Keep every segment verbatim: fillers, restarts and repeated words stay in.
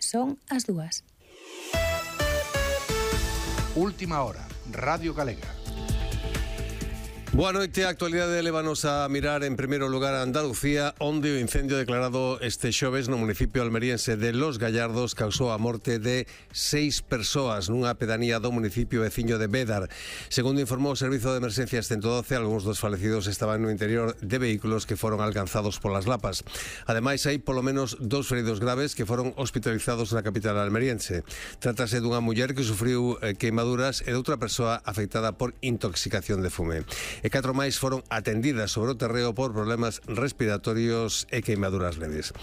Son as dúas. Última hora, Radio Galega. Boa noite, a actualidade levanos a mirar en primeiro lugar a Andalucía, onde o incendio declarado este xoves no municipio almeriense de Los Gallardos causou a morte de seis persoas nunha pedanía do municipio veciño de Bédar. Segundo informou o Servizo de Emerxencias ciento doce, algúns dos falecidos estaban no interior de vehículos que foron alcanzados polas lapas. Ademais, hai polo menos dous feridos graves que foron hospitalizados na capital almeriense. Trátase dunha muller que sufriu eh, queimaduras e de outra persoa afectada por intoxicación de fume. E catro máis foron atendidas sobre o terreo por problemas respiratorios e queimaduras leves.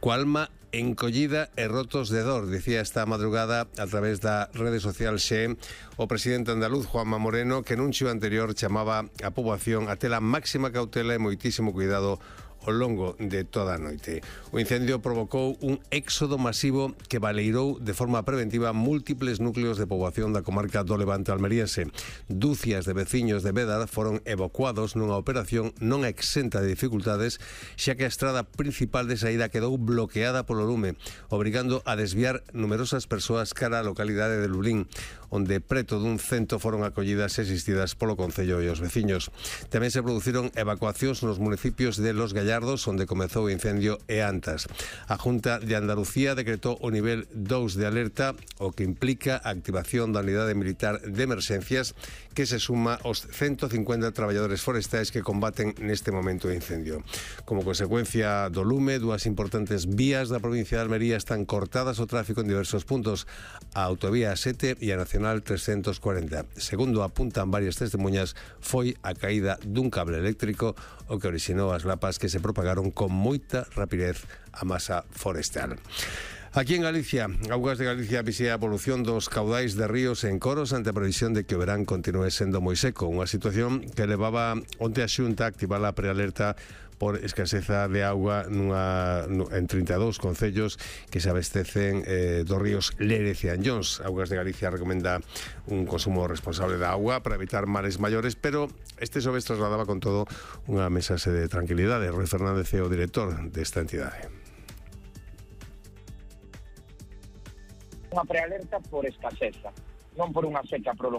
Coa alma encollida e rotos de dor, dicía esta madrugada a través da rede social Xe o presidente andaluz Juanma Moreno, que nun xío anterior chamaba a poboación a ter a máxima cautela e moitísimo cuidado ao longo de toda a noite. O incendio provocou un éxodo masivo que baleirou de forma preventiva múltiples núcleos de poboación da comarca do Levante almeriense. Dúcias de veciños de Bédar foron evacuados nunha operación non exenta de dificultades, xa que a estrada principal de saída quedou bloqueada polo lume, obrigando a desviar numerosas persoas cara á localidade de Lulín, onde preto dun cento foron acollidas e asistidas polo Concello e os veciños. Tamén se produciron evacuacións nos municipios de Los Gallardos, onde comezou o incendio, e Antas. A Junta de Andalucía decretou o nivel dous de alerta, o que implica a activación da unidade militar de emerxencias, que se suma aos ciento cincuenta traballadores forestais que combaten neste momento o incendio. Como consecuencia do lume, dúas importantes vías da provincia de Almería están cortadas ao tráfico en diversos puntos, a autovía sete e a nacional trescentos cuarenta. Segundo apuntan varias testemunhas, foi a caída dun cable eléctrico o que orixinou as lapas que se propagaron con moita rapidez a masa forestal. Aquí en Galicia, Augas de Galicia visea a evolución dos caudais de ríos en Coros ante a previsión de que o verán continúe sendo moi seco, unha situación que levaba onte a Xunta a activar a prealerta por escaseza de auga nunha, en trinta e dous concellos que se abastecen eh, dos ríos Lérez e Anllóns. Augas de Galicia recomenda un consumo responsable da auga para evitar males maiores, pero este xoves trasladaba con todo unha mensaxe de tranquilidade. Rui Fernández é o director desta entidade. Unha prealerta por escaseza, non por unha seca prolongada.